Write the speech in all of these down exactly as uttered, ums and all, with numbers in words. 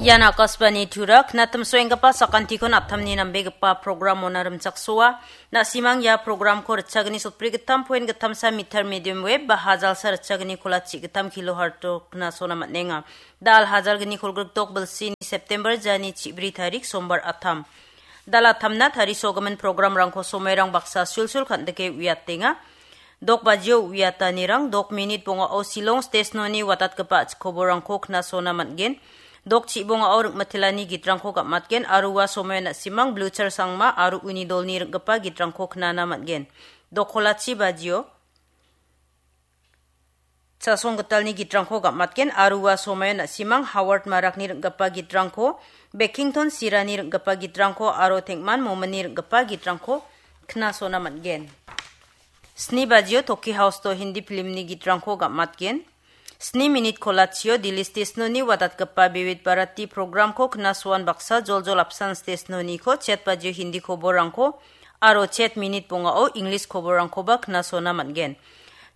Ian Akashvani Tura, knatimsoenggipa sakantikon aptamni nambegipa programona rimchaksoa. Na·simang ia programko ritchagni sotbri gittam poen gittamsa meter medium wave ba hajalsa ritchagni kolachi gittam kilohertz-o knasona man·enga. Da·al hajalgni kolgrikdok bilsini September jani chibri tarik sombar attam. Da·al attamna tarisogimin programrangko somoirang baksa sulsul kan·dike uiatenga. Dok bajio uiatanirang dok minit bongao Shillong stesnoni watatgipa a·chik koborrangko knasona man·gen. Dok chibongao ring·mitelani gitrangko gam·atgen aro ua somoian na·simang Blucher Sangma aro uni dolni ring·gipa gitrangko knana man·gen. Dok kolachi bajio Chasong gitalni gitrangko gam·atgen aro ua somoian na·simang Howard Marakni ring·gipa gitrangko, Beckington Sirani ring·gipa gitrangko aro Tengman Momini ring·gipa gitrangko knasona man·gen. Sni bajio Toki House-o Hindi filmni gitrangko gam·atgen. Sni minit kolachio Delhi stesnoni watatgipa Vividh Bharati programko knasoan baksa joljol apsan stesnoniko chet bajio Hindi koborrangko aro chet minit bongao English koborrangkoba knasona man·gen.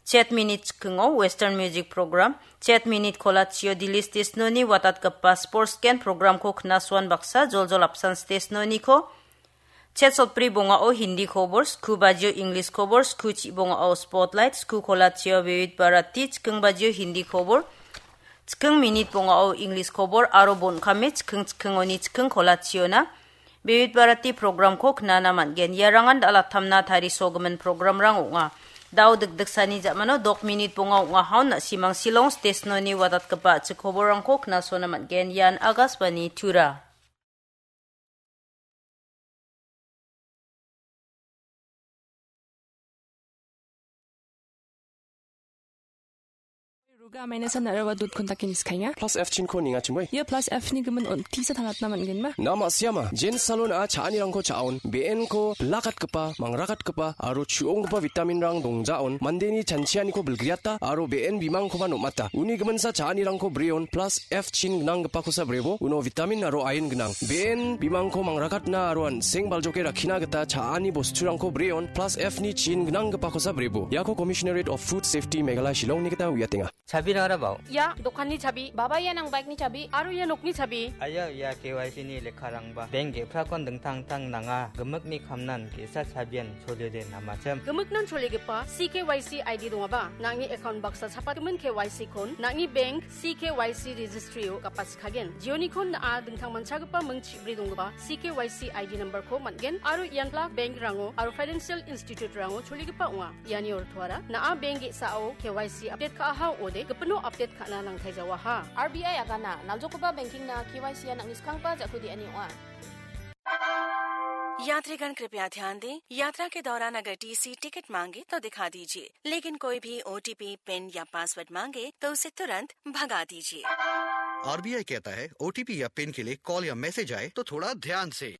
Chet minit chikingo Western Music Program, chet minit kolachio Delhi stesnoni watatgipa Sports Gen programko knasoan baksa joljol apsan stesnoniko, chet sotbri bongao Hindi kobor, sku bajio English kobor, sku chibongao Spotlight, sku kolachio Vividh Bharati, chiking bajio Hindi kobor, chiking minit bongao English kobor, aro bon·kame chiking chikingoni chiking kolachiona Vividh Bharati programko knana man·gen. Iarangan da·al attamna tarisogimin programrang ong·a. Dao dikdiksani ja·mano dok minit bonga ong·a haon na·simang Shillong stesnoni watatgipa a·chik koborrangko knasona man·gen. Ian Akashvani Tura. Ruga mainasa narawa dot com dake niskainga. Plus F chinko ningachimoi. Ia plus F ni gimin on tisa tangatna man·genma? Na ma·siama, Jen Salon a cha·anirangko cha·on, be·enko bilakatgipa, mangrakatgipa, aro chu·onggipa vitaminrang dongjaon, mandeni chanchianiko bilgriata, aro be·en bimangkoba nom·ata. Uni giminsa cha·anirangko breon, plus F chin gnanggipakosa brebo, uno vitamin aro ain gnang. Be·en bimangko mangrakatna aro an·seng baljoke rakkina gita cha·ani bosturangko breon, plus F ni chin gnanggipakosa brebo. Iako Commissionerate of Food Safety Meghalaya Shillongni gita uiatenga. Chabirang rabao. Ia dokanni chabi, baba ia nang bike-ni chabi, aro ia nokni chabi. Aia, ia K Y C ni lekkarangba. Bank ge·prakon dingtang dingtang nanga. Gimikni kamnan ge·sa chabian choliode namachim. Gimiknan choligipa C K Y C I D dongaba, nang·ni account baksa chapatgimin K Y C-kon, nang·ni bank C K Y C registry-o gapachikagen. Jionikon na·a dingtang manchagipa ming chibri donggipa C K Y C I D number-ko man·gen, aro ian bank-rango aro financial institute-rango choligipa ong·a. Iani ortoara, na·a bank ge·sao K Y C update ka·aha ong·ode, gipino update ka·na nangtaijawaha. R B I agana, naljokgipa banking-na K Y C-a nang·ni skanggipa ja·ku de·ani ong·a. यात्रीगण कृपया ध्यान दें, यात्रा के दौरान अगर TC ticket मांगे तो दिखा दीजिए, लेकिन कोई भी ओटीपी, पिन या पासवर्ड मांगे तो उसे तुरंत भगा दीजिए। आरबीआई कहता है, ओटीपी या पिन के लिए कॉल या मैसेज आए तो थोड़ा ध्यान से।